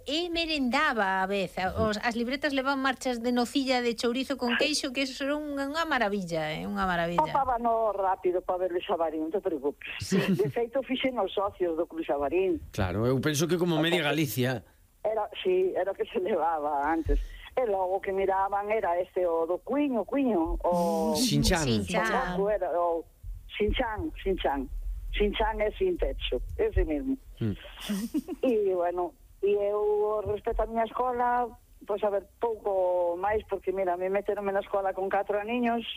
E merendaba a vez. As libretas levan marchas de nocilla de chourizo con queixo, que eso era unha maravilla, unha maravilla. Papábano rápido para ver o Xabarín, non te preocupes. De feito, fixen os socios do Club Xabarín. Claro, eu penso que como media Galicia. Era o que se levaba antes. E logo que miraban era o do Cuiño, o Xinchan. O Xinchan. Xinchan é sin techo, ese mesmo. E, bueno, eu, respecto a miña escola, pois, a ver, pouco máis, porque, mira, me meteronme na escola con 4 aniños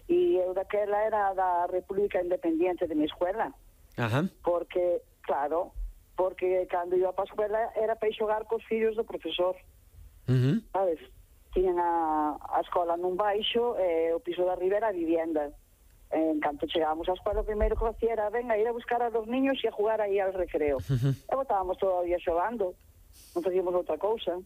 e eu daquela era da República Independiente de mi escuela. Ajá. Porque, claro, porque cando iba para a escuela era para ir xogar cos fillos do profesor. Sabes? Tiñan a escola nun baixo e o piso da riba era a vivienda. En canto chegábamos á escola, o primeiro que hacía era ir a buscar a dos niños e a jugar aí al recreo. E botábamos todo o día xogando, non facíamos outra cousa.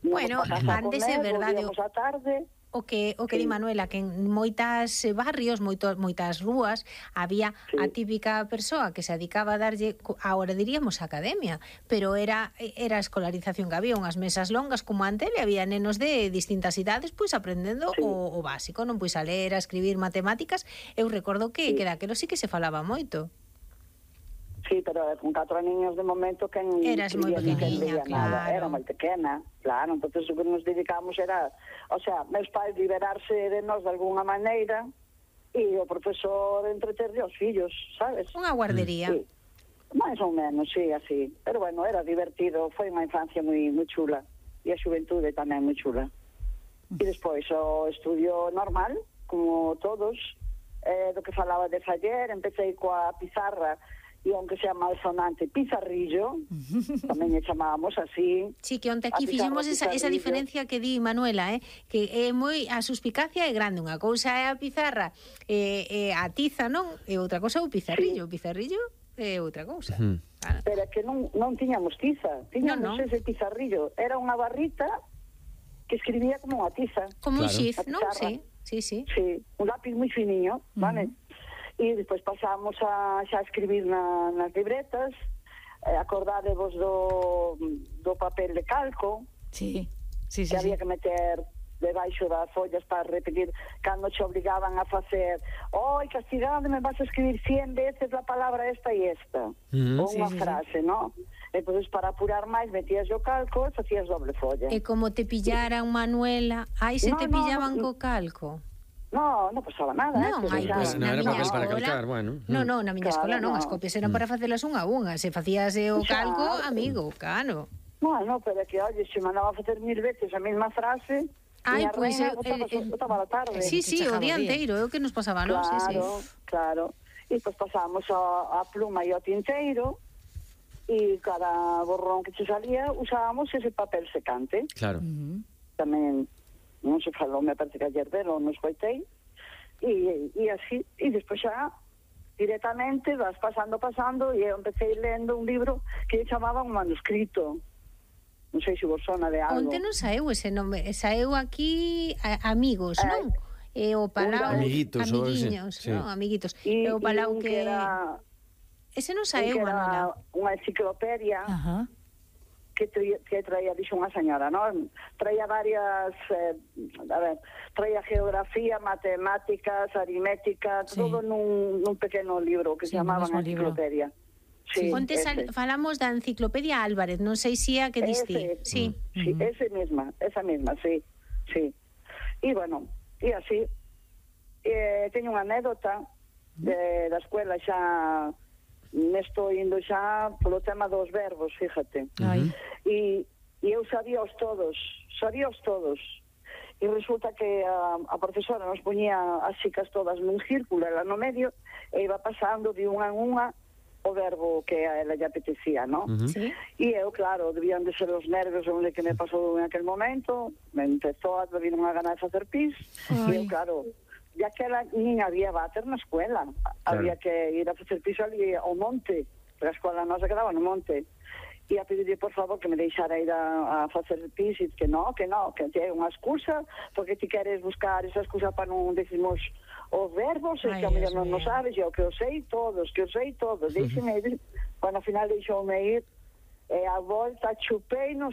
Bueno, antes é verdade. Volvíamos á tarde. O que di Manuela, que en moitas barrios, moitas rúas, había a típica persoa que se dedicaba a darlle, agora diríamos academia, pero era a escolarización que había, unhas mesas longas como antes, e había nenos de distintas idades, pois aprendendo o básico, non, pois a ler, a escribir, matemáticas. Eu recordo que daquelo sí que se falaba moito. Sí, pero con 4 niños de momento que eras moi pequeniña, claro. Era moi pequena, claro, entonces o que nos dedicamos era, o sea, meus pais liberarse de nós de alguna maneira e o profesor entreterlle aos fillos, sabes? Unha guardería. Sí. Mais ou menos, sí, así. Pero bueno, era divertido, foi unha infancia moi chula e a xuventude tamén moi chula. E despois o estudio normal, como todos, do que falaba de faller, empecé coa pizarra e aunque sea malsonante, pizarrillo, tamén lle chamábamos así. Sí, que onte aquí fixemos esa diferencia que di Manuela, que é moi, a suspicacia é grande, unha cousa é a pizarra, a tiza, non? E outra cousa é o pizarrillo, o pizarrillo é outra cousa. Claro. Pero é que non tiñamos tiza, tiñamos ese pizarrillo, era unha barrita que escribía como unha tiza. Como un xiz, non? Sí. Sí, un lápiz moi finiño, vale? E despois pasamos a xa escribir nas libretas, acordádevos do papel de calco, que había que meter debaixo das follas para repetir cando te obligaban a facer castigado, me vas a escribir 100 veces la palabra esta e esta, ou unha frase, non? E pois para apurar máis metías o calco e facías doble folla. E como te pillaran, Manuela, se te pillaban co calco? Non pasaba nada. Non, pues, na miña escola, bueno. Non, na miña escola non, as copias eran para facelas unha a unha, se facías o calco, amigo, cano. Non, pero é que, oye, se mandaba a facer 1000 veces a mesma frase, pois botaba a tarde. Sí, o día inteiro, é o que nos pasaba, non? Claro. E pois pasábamos a pluma e ao tinteiro, e cada borrón que che salía usábamos ese papel secante. Claro. Tamén non se falou, me parece que ayer delo, non escoitei, e así, e despois xa directamente vas pasando, e eu empecé lendo un libro que chamaba un manuscrito, non sei se vos sona de algo. Onte non saeu ese nome, saeu aquí Amigos, non? E o Palau, amiguiños, non? Amiguitos, e o Palau que era... Ese non saeu, Manuela. Unha enciclopedia que traía, dixo unha señora, non? Traía varias, traía geografía, matemáticas, aritmética, todo nun pequeno libro que se chamaban enciclopedia. Onte falamos da enciclopedia Álvarez, non sei se é a que diste. Sí, esa mesma, sí. E bueno, e así, teño unha anécdota da escuela xa... me estou indo xa polo tema dos verbos, fíjate. E eu sabíaos todos. E resulta que a profesora nos poñía as chicas todas nun círculo, ela no medio, e iba pasando de unha en unha o verbo que a ela lle apetecía, non? E eu, claro, debían de ser os nervios onde que me pasou en aquel momento, me empezou a vir unha gana de facer pis, e eu, claro... ya que nin había váter na escuela, había que ir a facer piso ali ao monte, porque a escola nosa quedaba no monte, e a pedirle por favor que me deixara ir a facer pis, e que é unha excusa, porque ti queres buscar esa excusa para non decimos os verbos, e que a mellor non sabes, e o que os sei todos, deixime ir. Bueno, ao final deixoume ir, E a volta chupei nos